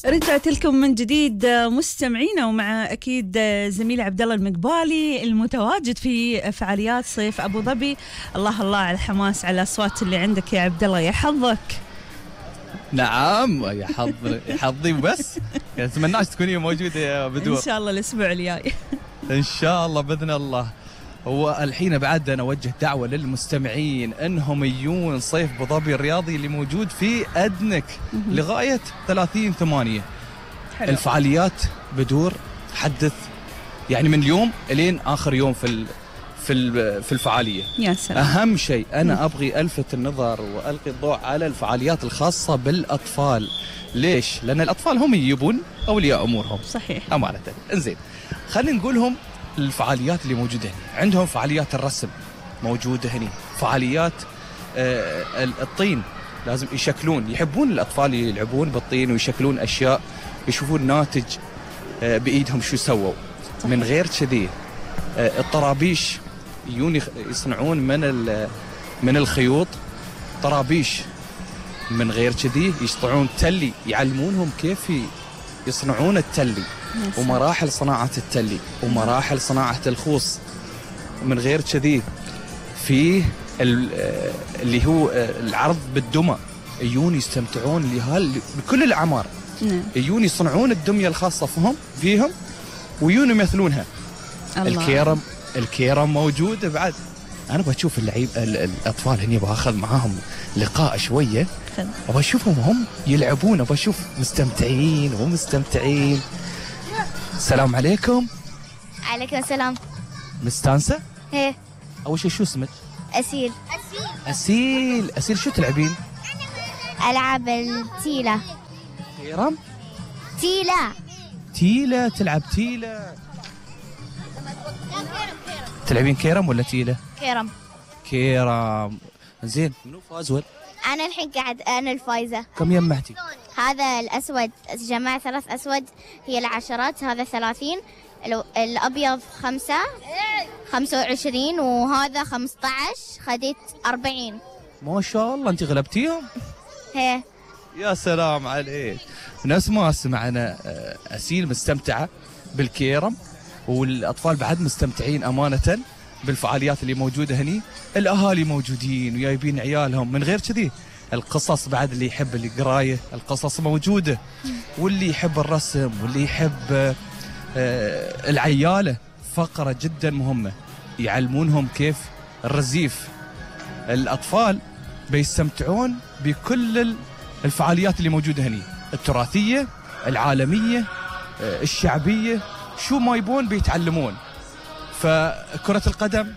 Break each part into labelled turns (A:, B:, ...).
A: رجعت لكم من جديد مستمعينا، ومع أكيد زميلي عبد الله المقبالي المتواجد في فعاليات صيف أبو ظبي. الله الله على الحماس، على الأصوات اللي عندك يا عبد الله، يا حظك.
B: نعم يا حظي بس. أتمناش تكوني موجودة يا بدور.
A: إن شاء الله الأسبوع الجاي.
B: إن شاء الله بإذن الله. هو الحين بعد أنا أوجه دعوة للمستمعين أنهم يجون صيف أبو ظبي الرياضي اللي موجود في أدنك لغاية 30/8. الفعاليات بدور حدث يعني من اليوم لين آخر يوم في الفعالية.
A: يا سلام.
B: أهم شيء أنا أبغي ألفت النظر وألقي الضوء على الفعاليات الخاصة بالأطفال. ليش؟ لأن الأطفال هم يجيبون أولياء أمورهم.
A: صحيح.
B: أمانة. إنزين خلينا نقولهم الفعاليات اللي موجودة هنا. عندهم فعاليات الرسم موجودة هنا، فعاليات الطين، لازم يشكلون، يحبون الأطفال يلعبون بالطين ويشكلون أشياء، يشوفون ناتج بإيدهم شو سووا. من غير كذي الطرابيش يجون يصنعون من الخيوط طرابيش. من غير كذي يصنعون تلي، يعلمونهم كيف يصنعون التلي ومراحل صناعة التلي ومراحل صناعة الخوص. من غير كذي فيه اللي هو العرض بالدمى، يجون يستمتعون بكل الأعمار. يجون يصنعون الدمية الخاصة فيهم ويجون يمثلونها. الكيرم موجودة بعد. أنا بشوف الأطفال هني، باخذ معاهم لقاء شوية، وبشوفهم هم يلعبون، وبشوف مستمتعين ومستمتعين. السلام عليكم.
C: عليكم السلام.
B: مستانسة؟
C: ايه.
B: أول شيء شو اسمك؟
C: أسيل.
B: أسيل شو تلعبين؟
C: ألعب التيلة.
B: كيرم؟ تيلة تلعب تيلة. تلعبين كيرم ولا تيلة؟ كيرم. زين منو فاز ولا؟
C: أنا الحين أنا الفايزة.
B: كم يمعتي؟
C: هذا الأسود، جمع 3 أسود هي العشرات، هذا 30، الأبيض 25، وهذا 15، خديت 40.
B: ما شاء الله أنت غلبتيهم؟
C: هي.
B: يا سلام عليك. نفس ما سمعنا أسيل مستمتعة بالكيرم، والأطفال بعد مستمتعين أمانة بالفعاليات اللي موجودة هني. الأهالي موجودين وجايبين عيالهم. من غير كذي القصص بعد، اللي يحب القراية القصص موجودة، واللي يحب الرسم، واللي يحب العيالة. فقرة جدا مهمة، يعلمونهم كيف الرزيف. الأطفال بيستمتعون بكل الفعاليات اللي موجودة هني، التراثية، العالمية، الشعبية، شو ما يبون بيتعلمون. فكرة القدم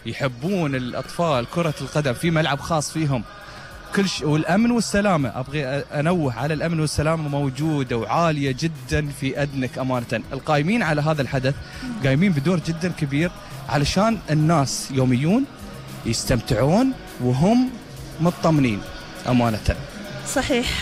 B: يحبون الأطفال كرة القدم، في ملعب خاص فيهم كل شيء. والأمن والسلامة، أبغي أنوه على الأمن والسلامة موجودة وعالية جدا في أدنك أمانة. القائمين على هذا الحدث قايمين بدور جدا كبير علشان الناس يوميون يستمتعون وهم مطمنين أمانة.
A: صحيح.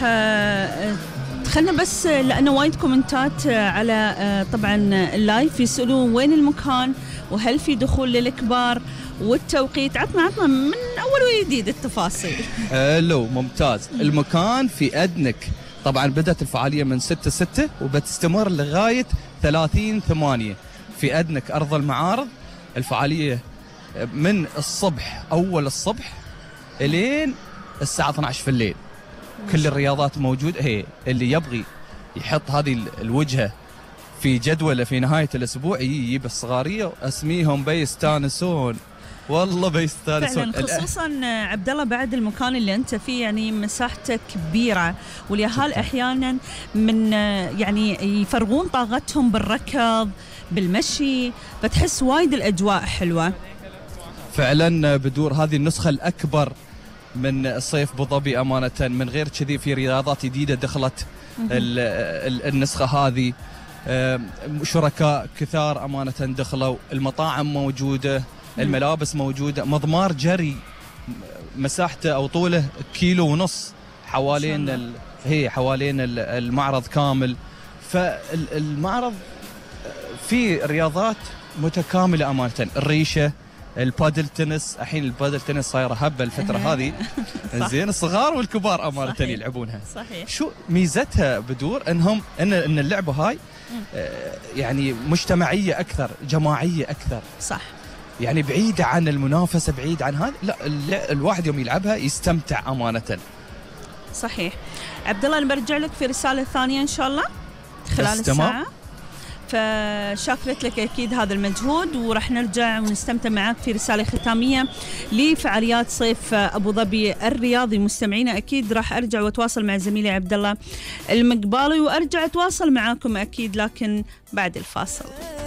A: خلنا بس، لأنه وايد كومنتات على طبعا اللايف يسألون وين المكان، وهل في دخول للكبار، والتوقيت. عطنا من أول وجديد التفاصيل.
B: حلو، ممتاز. المكان في أدنك، طبعا بدأت الفعالية من 6/6 وبتستمر لغاية 30/8 في أدنك أرض المعارض. الفعالية من الصبح، أول الصبح إلين الساعة 12 في الليل. كل الرياضات موجودة. هي اللي يبغي يحط هذه الوجهة في جدوله في نهاية الأسبوع يجيب الصغارية وأسميهم بيستانسون، والله بيستانسون
A: فعلا. خصوصا عبد الله بعد المكان اللي أنت فيه يعني مساحته كبيرة، واليهال أحيانا من يعني يفرغون طاقتهم بالركض بالمشي، فتحس وايد الأجواء حلوة
B: فعلا. بدور هذه النسخة الأكبر من صيف أبو ظبي أمانة. من غير كذي في رياضات جديدة دخلت النسخة هذه. شركاء كثار أمانة دخلوا، المطاعم موجودة، الملابس موجودة، مضمار جري مساحته أو طوله 1.5 كيلو حوالين حوالين المعرض كامل. فالمعرض فيه رياضات متكاملة أمانة، الريشة، البادل تنس، الحين البادل تنس صايره هبه الفتره هذه. زين الصغار والكبار امانه يلعبونها.
A: صحيح.
B: شو ميزتها بدور؟ ان اللعبه هاي يعني مجتمعيه اكثر، جماعيه اكثر.
A: صح.
B: يعني بعيده عن المنافسه، بعيد عن هذا، لا الواحد يوم يلعبها يستمتع امانه.
A: صحيح. عبد الله انا برجع لك في رساله ثانيه ان شاء الله خلال الساعه. فشاكرت لك أكيد هذا المجهود، وراح نرجع ونستمتع معك في رسالة ختامية لفعاليات صيف أبو ظبي الرياضي. مستمعينا أكيد راح أرجع وأتواصل مع زميلي عبد الله المقبالي، وأرجع أتواصل معاكم أكيد لكن بعد الفاصل.